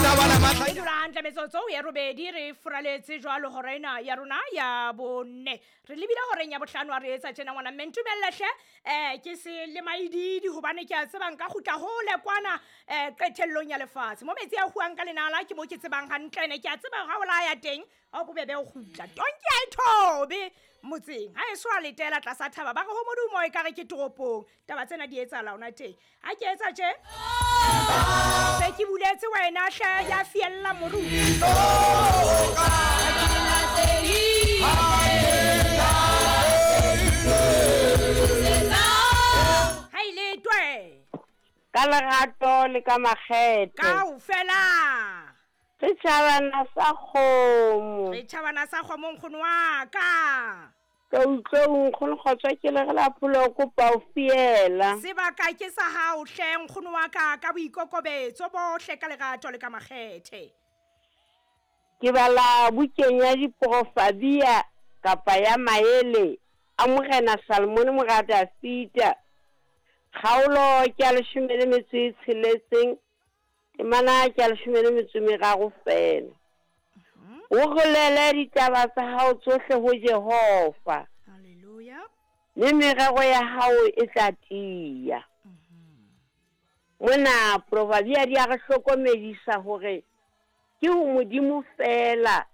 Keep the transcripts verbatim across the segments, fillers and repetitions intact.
E dula hantle metsotso ya robedi re furaletse jwalo hora ena ya rona ya bone. Re lebile horeng ya bohlano ha re etsa tjena ngwana mme ntumelle hle eh ke se le maididi hobane ke a tseba nka kgutla hole kwana eh qetellong ya lefatshe. Mo metsi a huang ka lenala ke mo ke tsebang hantle ene ke a tseba ha o la ya teng ha o bobebe o kgutla. Tonki ha e thobe motseng ha e so a letela tlasa thaba ba re ho modumo e kare ke toropong. Taba tsena di etsahala hona teng. Ha ke etsa tje se ke buletse wena hle ya fiella moru. Ha ile twe ka lerato le ka makgethe kaofela re tjhabana sa kgomo re tjhabana sa kgomo nkgono wa ka ka utlwa nkgono kgotsa ke le re la pholo kopa o fiela sebaka ke sa hao hle nkgono wa ka ka boikokobetso bohle ka lerato le ka makgethe. Ke bala bukeng ya diprofabia kapa ya maele a Morena Salomone mora Dafita kgaolo ke ya leshome le metso e tsheletseng temana ke ya leshome le metso e meraro fela. O rolele ditaba tsa hao tsohle ho Jehova. Hallelujah. Mme merero ya hao e tla tiya. Mona Proverbia di a re hlokomedisa hore ke ho Modimo fela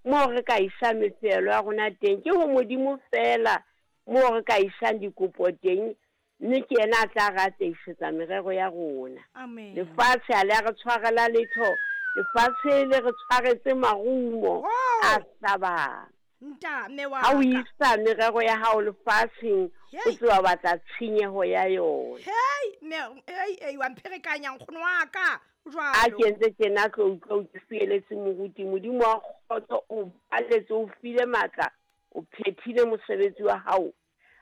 moo re ka isang mefelo ya rona teng, ke ho Modimo fela moo re ka isang dikopo teng, mme ke yena a tla re ateisetsa merero ya rona. Amen. Lefatshe ha le a re tshwarela letho, lefatshe le re tshwaretse marumo a hlabang. Nta mme wa Ha o isa merero ya hao lefatsheng, o tseba batla tshenyeho ya yona. Hey, mme hey, hey, wa mpherekanya nkgono wa ka. Jwalo. A ke ntse tjena tlo utlwa o ke fieletse moruti. Modimo wa kgotso o baletse, o file matla, o phethile mosebetsi wa hao,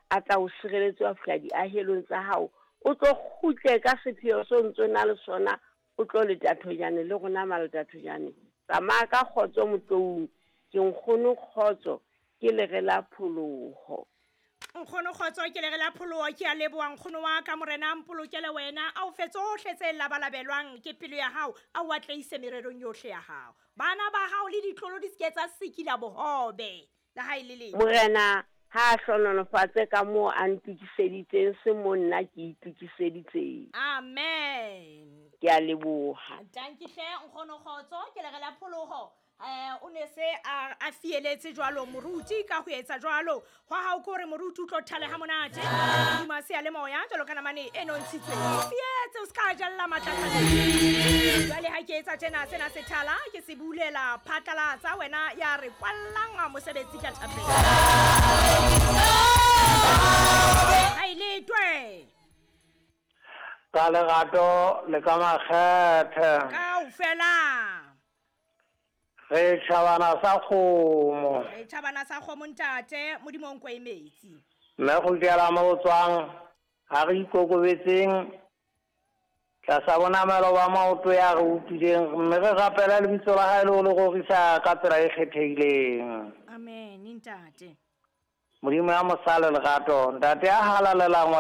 a tla o sireletsa wa fihla diahelong tsa hao. O tlo kgutle ka sepheo seo ntso na le sona, o tlo letathojane le rona maletathojane. Tsamaya ka kgotso motloung, ke nkgono kgotso, ke lere la pholoho. Nkgono kgotso ke lere la pholoho, ke a leboha nkgono wa ka Morena a mpolokele wena, a o fe tsohle tse labalabelwang ke pelo ya hao, a o atleise mererong yohle ya hao. Bana ba hao le ditlolo di se ke tsa sikila bohobe le ha e le leng. Morena ha a hlohonolofatse ka moo a ntokiseditseng se mo nna ke itokiseditseng. Amen. Ke a leboha. Tanki hle nkgono kgotso ke lere la pholoho. Eh o ne se a a fieletse jwalo moruti ka ho etsa jwalo hwa hao ke hore moruti o tlo thale ha monate hodima se ya le moya jwalo ka namane e nontshitsweng fietse o ska jalla matlatlana. Jwale ha ke etsa tjena sena se thala ke se bulela phatlalatsa wena ya re kwallang mosebetsi ka thapelo. Ha ile twe ka lerato le ka makgethe kaofela re tjhabana sa kgomo re tjhabana sa kgomo ntate Modimo o nkwe metsi mme go kela mo tswang ha re ikokobetseng tlasa bonamelo ba maoto ya re utlwileng mme re rapela lebitso la hae le ho le rorisa ka tsela e kgethehileng. Amen ntate. Modimo ya mosale lerato ntate ya halalelang wa